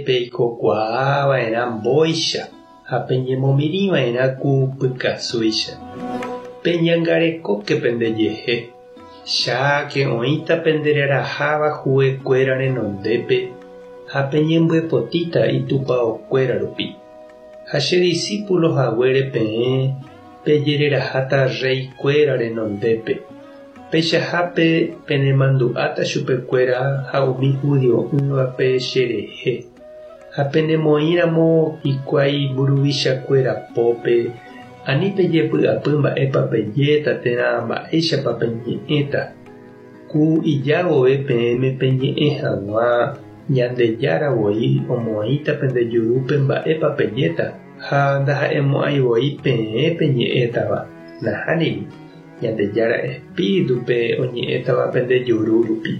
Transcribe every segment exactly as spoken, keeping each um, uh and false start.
Peikokuaava'erã mbóicha ha peñemomirĩva'erã ku pykasúicha. Peñangarekóke pendejehe. Cháke oĩta pendereraháva huekuéra renondépe ha peñembyepotíta itupãokuéra rupi. Ha che discípulo haguére peẽ pejereraháta reykuéra renondépe. Peichahápe penemandu'áta chupekuéra ha umi judio'ỹvape cherehe. Ha penemoĩramo hikuái mburuvichakuéra pópe ani pejepy'apy mba'épa pejéta térã mba'éichapa peñe'ẽta. Ku ijavove peẽme peñe'ẽ hag̃ua Ñandejára voi omoĩta pende jurúpe mba'épa pejéta ha ndaha'emo'ãivoi peẽ peñe'ẽtava. Nahániri, Ñandejára Espíritupe oñe'ẽtava pende juru rupi.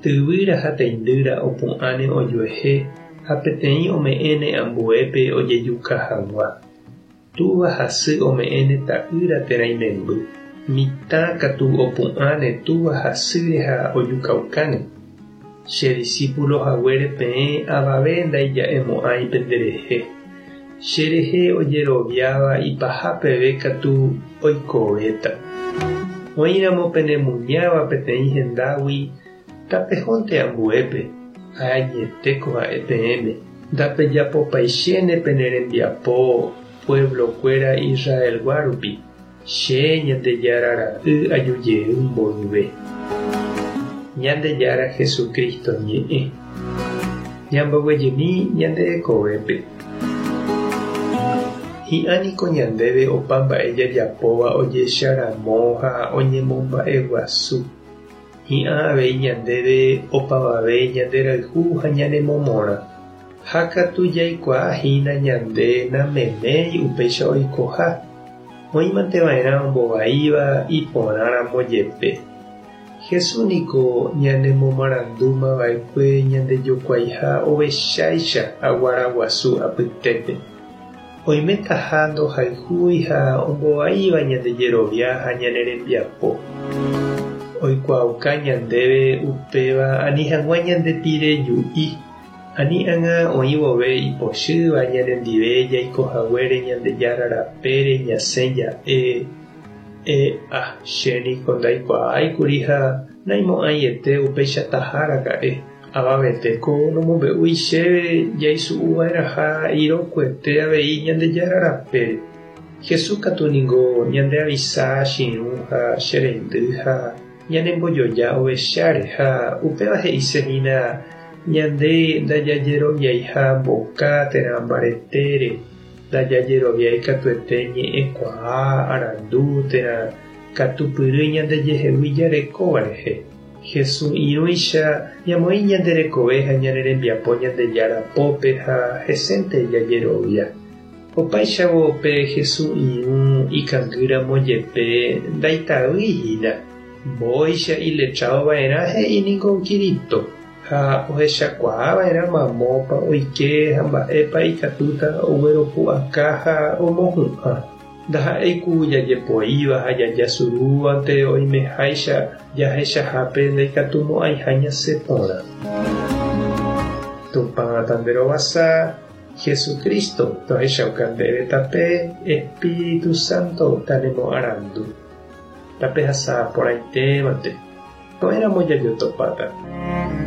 Tyvýra ha teindýra opu'ãne ojuehe ha peteĩ ome'ẽne ambuépe ojejuka hag̃ua. Túva ha sy ome'ẽne ta'ýra térã imemby. Mitã katu opu'ãne túva ha sýre ha ojukaukáne. Che discípulo haguére peẽ avave ndaija'emo'ãi penderehe. Cherehe ojeroviáva ipaha peve katu oikovéta. Oĩramo penemuñáva peteĩ hendágui tapehónte ambuépe ha añetéko ha'e peẽme. Ndapejapopaichéne pene rembiapo pueblokuéra Israelgua rupi. Che Ñandejára ra'y ajujey mboyve. Ñandejára Jesucristo ñe'ẽ. Ñamboguejymi ñande rekovépe. Hi'ãniko ñandéve opa mba'e jajapóva ojecharamo ha oñemomba'eguasu. Hi'ã avei ñandéve opavave ñanderayhu ha ñanemomorã. Ha katu jaikuaahína ñande nameméi upéicha oikoha. Oĩmanteva'erã ombovaíva iporãramo jepe. Jesús niko ñanemomarandúmava'ekue ñandejokuaiha ovecháicha aguaraguasu apytépe. Oimetaha ndohayhúi ha ombovaíva ñande jerovia ha ñane rembiapo. Oikuaauka ñandéve upéva ani hag̃ua ñandepireju'i. Ani ág̃a oĩ vove ipochýva ñanendive jaikohaguére Ñandejára rapére ñasẽ ja'e e'a chéniko ndaikuaáikuri ha naimo'ãiete upeichataha raka'e. Avavetéko nomombe'úi chéve jaisu'uva'erãha irokuete avei Ñandejára rapére. Jesús katu niko ñandeavisa che irũ ha che reindy ha ñanembojoja ovecháre ha upéva he'isehína ñande ndajajeroviaiha mboka térã mbaretére, ndajajeroviái katuete ñe'ẽkuaa, arandu térã katupyry ñandejehegui jarekóva rehe. Jesús irũicha ñamoĩ ñande rekove ha ñane rembiapo Ñandejára pópe ha hesénte jajerovia. Opáichavo pe Jesús irũ ikangýramo jepe ndaitavýihína. Mbóicha iletradova'erã he'i niko Kirito ha ohechakuaava'erã mamópa oike ha mba'épa ikatúta ogueropu'aka ha omohu'ã. Ndaha'éi ku jajepoíva ha jajasurúvante oimeháicha jahechahápe ndaikatumo'ãiha ñasẽ porã. Tupã tanderovasa, Jesucristo tohechauka ndéve tape, Espíritu Santo tanemoarandu. Tapehasa porãitémante. Ko'ẽramo jajotopáta.